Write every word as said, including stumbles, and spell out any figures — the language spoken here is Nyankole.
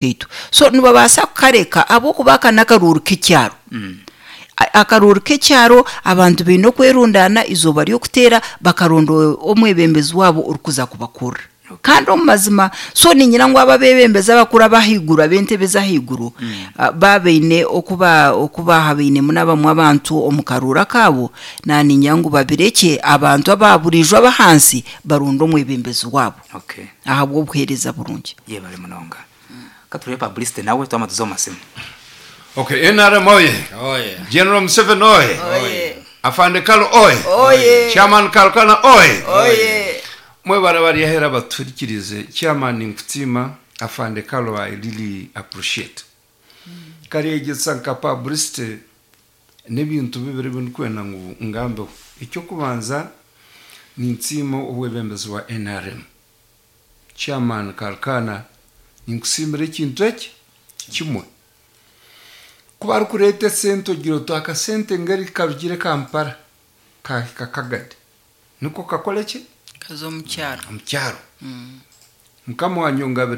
Kaitu so nibabaasa kukareka ahabw'okuba aka n'akaruuru k'ekyaro. A- Akaruuru k'ekyaro abantu baine okwerundaana eizooba ry'okuteera bakaronda omwebembezi waabo orikuza kubakurira. Kandi omu mazima so niinyira ngu abo abeebembezi abakuru ab'ahaiguru ab'entebe ez'ahaiguru ah, baaba baine oku ba- oku baahabainemu n'abamwe abantu omu karuuru akaabo, naaniinyira ngu babirekye abantu aba buriijo ab'ahansi baronde omwebembezi waabo Okay. ahabw'obuheereza burungi. Yebare munonga. Katurebe publicity nawe twama tuza omu masimu. Okay, N R M oye. Oye. General Museveni oye. Oye. Afande Kalo oye. Oye. Chairman Kalukana oye. Oye. Mwebare bariyahera baturikirize. Chairman, nkutima. Afande Kalo, I really appreciate. Karyegyesa nka publicity n'ebintu bibiri binikwenda ngu ngambeho. Ekyokubanza, ninsiima obwebembezi bwa N R M. Chairman Kalukana, ninkusiimira ekintu eki kimwe. Ku barikureeta esente ogira oti akasente ngeri karugire Kampala kahika Kagadi niko kakore ki? Kaza omu kyaro. Omu kyaro. Mukama wanyongabire.